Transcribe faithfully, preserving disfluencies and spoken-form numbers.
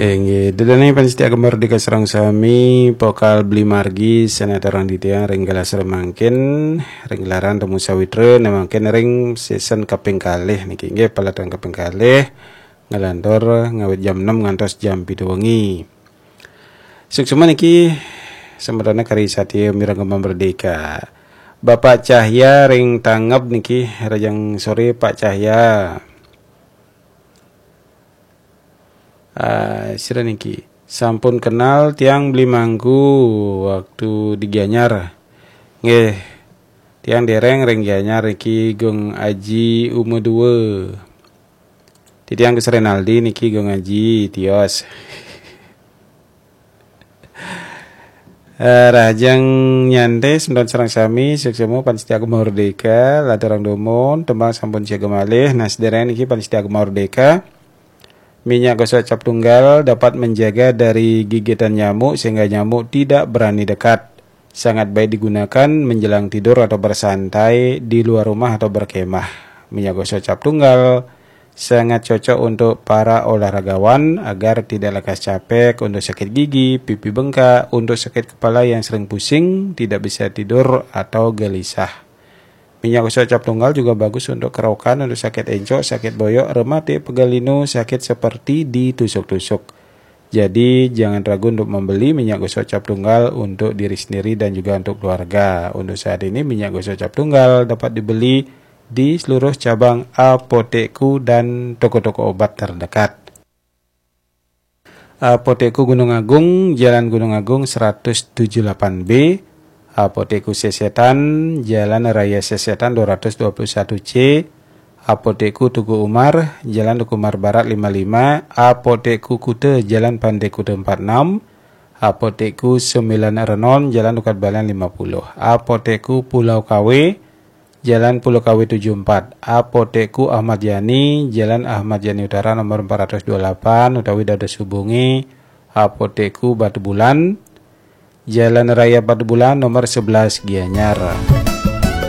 Inggih, ida dané pamiarsa Gema Merdeka sareng sami, pokal Beli Margi, sanataran titiang ring galah sore mangkin, ring gelaran Temu Sawitra, nah mangkin ring season kaping kalih niki, inggih, pelaton kaping kalih, ngalantur ngawit jam enam ngantos jam pitu wengi. Suksma niki, semetoné kari satia mireng Gema Merdeka. Bapak Cahya ring Tangeb niki, rahajeng sore, Pak Cahya. Ah, sira niki. Sampun kenal tiang Beli Mangku waktu di Gianyar. Nggih, tiang dereng ring Gianyar niki, Gung Aji Uma dua. Titiang Gus Renaldi niki, Gung Aji, tios. Eh, rahajeng nyantai semeton sareng sami, suksma pamiarsa Gema Merdeka, lanturang dumun, tembang sampun siaga malih, nah sedereng niki pamiarsa Gema Merdeka. Minyak gosok cap tunggal dapat menjaga dari gigitan nyamuk sehingga nyamuk tidak berani dekat. Sangat baik digunakan menjelang tidur atau bersantai di luar rumah atau berkemah. Minyak gosok cap tunggal sangat cocok untuk para olahragawan agar tidak lekas capek, untuk sakit gigi, pipi bengkak, untuk sakit kepala yang sering pusing, tidak bisa tidur atau gelisah. Minyak gosok cap tunggal juga bagus untuk kerokan, untuk sakit encok, sakit boyok, rematik, pegal linu, sakit seperti ditusuk-tusuk. Jadi, jangan ragu untuk membeli minyak gosok cap tunggal untuk diri sendiri dan juga untuk keluarga. Untuk saat ini, minyak gosok cap tunggal dapat dibeli di seluruh cabang Apotekku dan toko-toko obat terdekat. Apotekku Gunung Agung, Jalan Gunung Agung seratus tujuh delapan B, Apotekku Sesetan, Jalan Raya Sesetan dua ratus dua puluh satu C, Apotekku Teuku Umar, Jalan Teuku Umar Barat lima lima, Apotekku Kuta, Jalan Pantai Kuta empat enam, Apotekku Sembilan Renon, Jalan Tukad Balian lima puluh, Apotekku Pulau Kawe, Jalan Pulau Kawe tujuh empat, Apotekku Ahmad Yani, Jalan Ahmad Yani Utara nomor empat ratus dua puluh delapan, utawi dados hubungi Apotekku Batubulan, Jalan Raya Batubulan nomor sebelas, Gianyar.